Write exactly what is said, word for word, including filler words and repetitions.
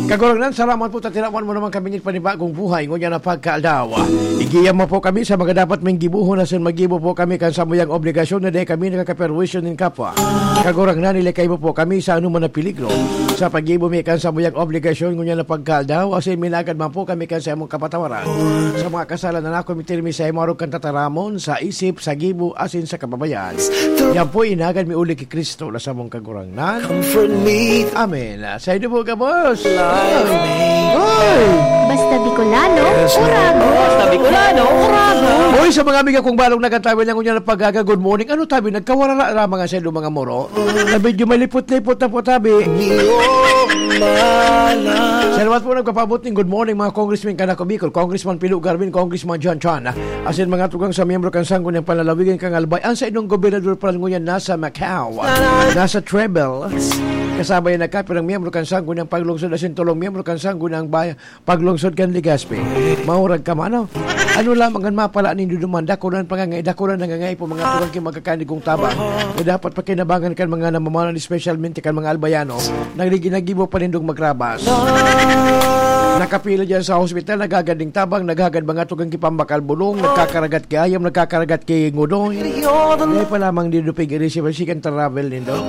Kagurangnan, salamat po ta tinawan mo naman kami nin panibagong buhay ngunyan na pagkaaldaw. Igiya mo po kami sa mga dapat ming gibohon asin maggibo po kami kan samuyang obligasyon na dai kami nakakaperwisyo nin kapwa. Kagurangnan, ilikay mo po kami sa anoman na peligro sa paggibo mi kan samuyang obligasyon ngunyan na pagkaaldaw asin minagad man po kami kan sa imong kapatawaran. Sa mga kasalanan na ako, mitiri mi sa imo arog kan tataramon, sa isip, sa gibo, asin sa kababayan. Yan po, inagad mi uli ki Kristo na samong Kagurangnan. Comfort me. Amen. Sa inyo po, gabos. Life. Hoy! Basta Bicolano, Yes, Lord. Urago. Basta Bicolano, Urago. Hoy, sa mga amiga kong balong nagkatabi lang ngunyan na paggaga, good morning. Ano tabi, nagkawala na lamang ang sa mga moro? Na medyo malipot-lipot na po tabi. Salamat po nagpapabot ning good morning, mga congressmen kan Ako Bicol, Congressman Pilo Garvin, Congressman John Chan. Asin mga tugang sa miyembro kan Sangguniang Panlalawigan kan Albay, ang sa inyong gobernador pa rin ngunyan nasa Macau, nasa Treble. Kasabay na kapirang miyembro kan Sangguniang Paglungsod asin tolong miyembro kan Sangguniang Bay-, Paglungsod kan Legazpi. Maurag ka man, ano? Ano lamang ang mapala nindo duman? Dakulan pa nga, dakulan na nga po mga tugang ki magkakanigong tabang. Na dapat pakinabangan kan mga namamanan, espesyalmente kan mga Albayano, nagigi-, nagibo pa nindong magrabas. Nakapila dyan sa hospital, naghagad ning tabang, naghagad mga tugang ki pambakal bulong, nagkakaragat ki ayam, nagkakaragat ki ngudoy. Dai pa lamang nindo pig-i-receive ang second travel nindo.